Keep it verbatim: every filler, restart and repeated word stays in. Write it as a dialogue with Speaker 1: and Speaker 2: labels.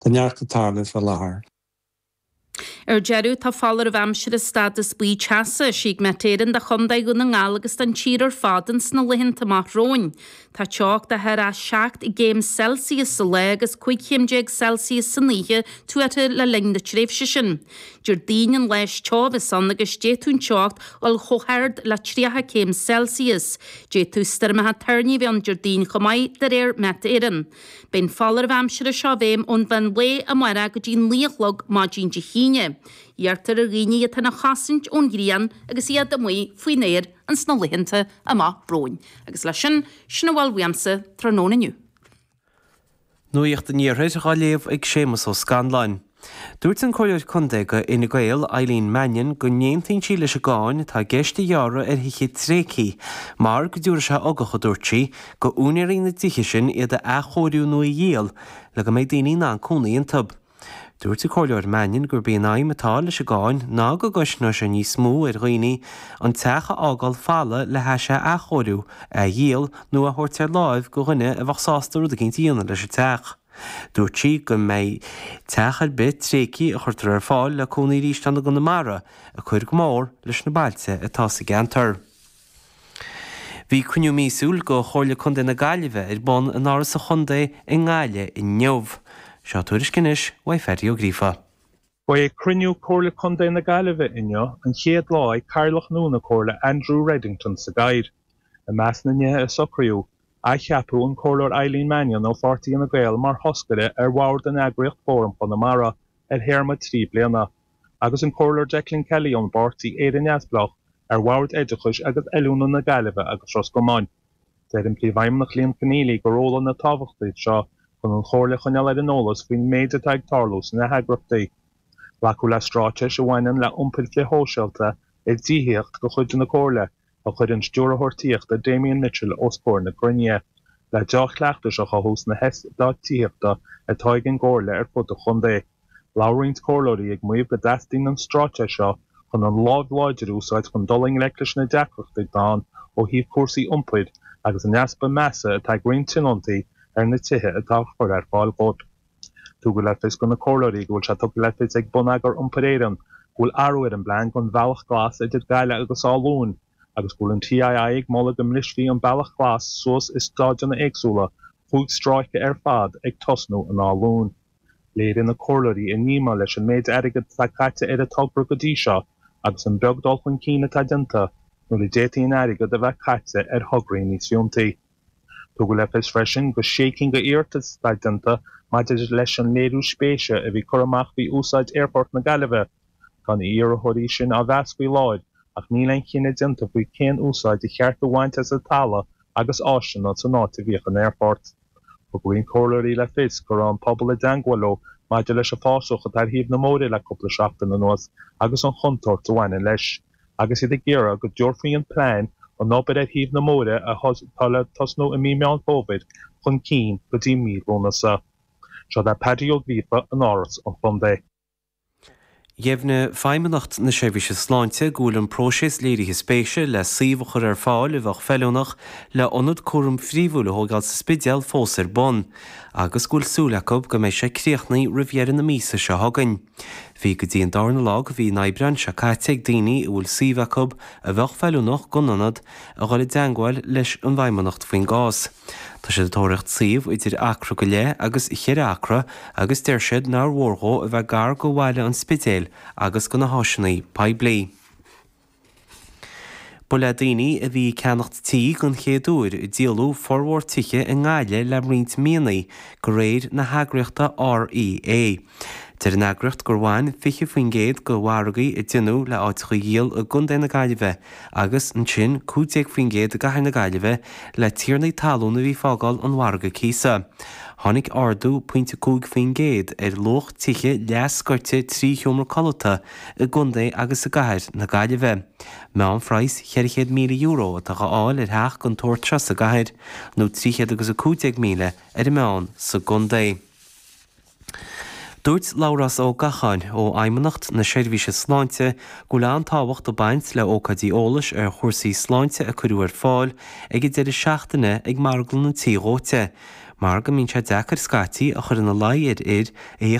Speaker 1: Tá neart ag tarlú faoi láthair.
Speaker 2: Ar deireadh tá foláireamh aimsire stádas buí teasa eisithe ag Met Éireann do Chontae Dhún na nGall agus don tír ar fad ins na laethanta amach romhainn. Tá teocht de thar a seacht gcéim Celsius sa lá agus cúig chéim déag Celsius san oíche tuartha le linn na tréimhse sin. Déardaoin an lá is teo a bheas ann agus d'fhéadfadh an teocht dul chomh hard le tríocha céim Celsius. D'fhéadfadh stoirmeacha toirní a bheith ann Déardaoin chomh maith de réir Met Éireann. Beidh an foláireamh aimsire seo i bhfeidhm ón mheán lae amárach go dtí naoi a chlog maidin Dé hAoine. Iarrtar ar dhaoine iad féin a chosaint ón ghrian agus iad amuigh faoin aer ins na laethanta amach romhainn. Agus leis sin sin a bhfuil uaimse tráthnóna inniu.
Speaker 3: Nuacht an Iarthair á léamh ag Séamus Ó Scanláin. Dúirt an Comhairleoir Contae do Fhine Gael Eileen Mannion go n-aontaíonn sí leis an gcáin atá i gceist a ghearradh ar thithe tréigthe, mar go dtabharfaidh sé ugach a dúirt sí, go úinéirí na dtithe sin iad a athchóiriú nó a dhíol le go mbeidh daoine in ann cónaí iontu. Dúirt an Comhairleoir Mannion gurb í an aidhm atá leis an gcáin ná go gcosnóidh sé níos mó ar dhaoine an teach a fhágáil folamh le hais é a athchóiriú, a dhíol nó a thabhairt ar láimh go dhuine a bheadh sásta rud éicint a dhéanamh leis an teach. Dúirt sí go mbeidh teach ar bith tréigthe a chuirtear ar fáil le cónaí arís ann i gConamara ag cur go mór leis na bailte atá sa gceantar. Bhí cruinniú míosúil go Chomhairle Contae na Gaillimhe ar bun in Áras an Chontae i nGaillimh inniu. Seo tuairisc anois uaidh Phaddy Ó Gríofa.
Speaker 4: Ba é cruinniú Comhairle Contae na Gaillimhe inniu an chéad lá ag Cathaoirleach nua na Comhairle Andrew Reddington sa gcathaoir. I measc na nithe a socraíodh, athcheapadh an Comhairleoir Eileen Mannion ó Pháirtí Fhine Gael mar thoscaire ar bhord an eagraíocht Fóram Chonamara ar théarma trí bliana, agus an Comhairleoir Declan Kelly ón bPáirtí Éire Neamhspleách ar Bhord Oideachais agus Oiliúna na Gaillimhe agus Ros Comáin. Deir an Príomhfheidhmeannach Liam Conneely gur ról an-tábhachtach seo chun an chomhairle a choinneáil ar an eolas faoin méid atá ag tarlú sna heagraíochtaí. Glacadh le straitéis a bhaineann le iompar frithshóisialta i dtithíocht de chuid na Comhairle a chuir an stiúrthóir tithíochta Damien Mitchell os comhair na cruinnithe, le dea-chleachtais a chothú sna heastáit tithíochta atá ag an gComhairle ar fud an chontae. Labhair roinnt comhairleoirí ag maíomh go dteastaíonn an straitéis seo chun an lámh láidir a úsáid chun dul i ngleic leis na deacrachtaí atá ann ó thaobh cúrsaí iompair agus an easpa measa atá ag roinnt tionóntaí ar na tithe atá á chur ar fáil dóibh. Tugadh le fios do na comhairleoirí go bhfuil sé tugtha le fios ag Bonneagar Iompair Éireann go bhfuil athrú ar an bplean don bhealach glas idir Gaillimh agus Áth Luain, agus go bhfuil an TII ag moladh go mbrisfí an bealach glas suas i staideanna éagsúla cúig stráice ar fad ag tosnú in Áth Luain. Léirigh na comhairleoirí a ndíomá leis an méid airgid atá caite ar an togra go dtí seo agus an beag dul chun cinn atá déanta nuair a d'fhéadfaí an airgead a bheith caite ar thograí níos fiúntaí. Tugadh le fios freisin go sé cinn d'iarratais atá déanta maidir leis an léiriú spéise a bhí curtha amach faoi úsáid Aerfort na Gaillimhe. Tá na hiarrthóirí sin á mheas faoi láthair ach níl aon chinneadh déanta faoi cén úsáid a cheart a bhaint as an talamh agus áiseanna san áit a bhíodh an aerfort. Thug roinnt comhairleoirí le fios go raibh an pobal i dteagmháil leo maidir leis an bhfásach atá ar thaobh na mbóithre le cúpla seachtain anuas agus an chontúirt a bhaineann leis, agus iad ag iarraidh go dtabharfaí an plean an obair ar thaobh na mbóithre atá le tosnú i mí Meán Fómhair chun cinn go dtí mí Lúnasa. Seo le Paddy Ó Gríofa in Áras an Chontae.
Speaker 3: Dheimhnigh Feidhmeannacht na Seirbhíse Sláinte go bhfuil an próiseas léirithe spéise le suíomh a chur ar fáil a bheadh feiliúnach le ionad cúraim phríomhúil a thógáil sa Spidéal fós ar bun, agus go bhfuil súil acu go mbeidh sé críochnaithe roimh dheireadh na míosa seo chugainn. Bhí go dtí an darna lá de mhí an Aibreáin seo caite ag daoine a bhfuil suíomh acu a bheadh feiliúnach don ionad a dhul i dteagmháil leis an bhFeidhmeannacht faoin gcás. Tá siad ag tóraíocht suíomh idir acra go leith agus cheithre acra agus deir siad nár mhór dhó a bheith gar go bhaile an Spidéil agus go na háiseanna poiblí. Ba le daoine a bhí ag ceannacht tí den chéad uair a díoladh formhór tithe i nGaillimh le roinnt míonna de réir na heagraíochta REA. Deir an eagraíocht gur bhain fiche faoin gcéad de mhargaí a déanadh le áiteacha a dhíol i gContae na Gaillimhe agus ansin cúig déag faoin gcéad i gCathair na Gaillimhe le tiarnaí talún a bhí ag fágáil an mhargaidh cíosa. Tháinig ardú pointe cúig faoin gcéad ar luach tithe leathscoite trí sheomra codlata i gContae agus i gCathair na Gaillimhe. Meánphraghas ceithre chéad míle euro atá á fháil ar theach den tsórt seo sa gcathair, nó trí chéad agus a cúig déag míle ar an meán sa gcontae. Dúirt Labhrás Ó Gacháin ó Fheidhmeannacht na Seirbhíse Sláinte go bhfuil an-tábhacht ag baint le ócáidí eolais ar chúrsaí sláinte a cuireadh ar fáil ag an deireadh seachtaine ag Marglann an Tí Dhóite, mar go mbíonn sé deacair scaití a chur ina luí ar fhir a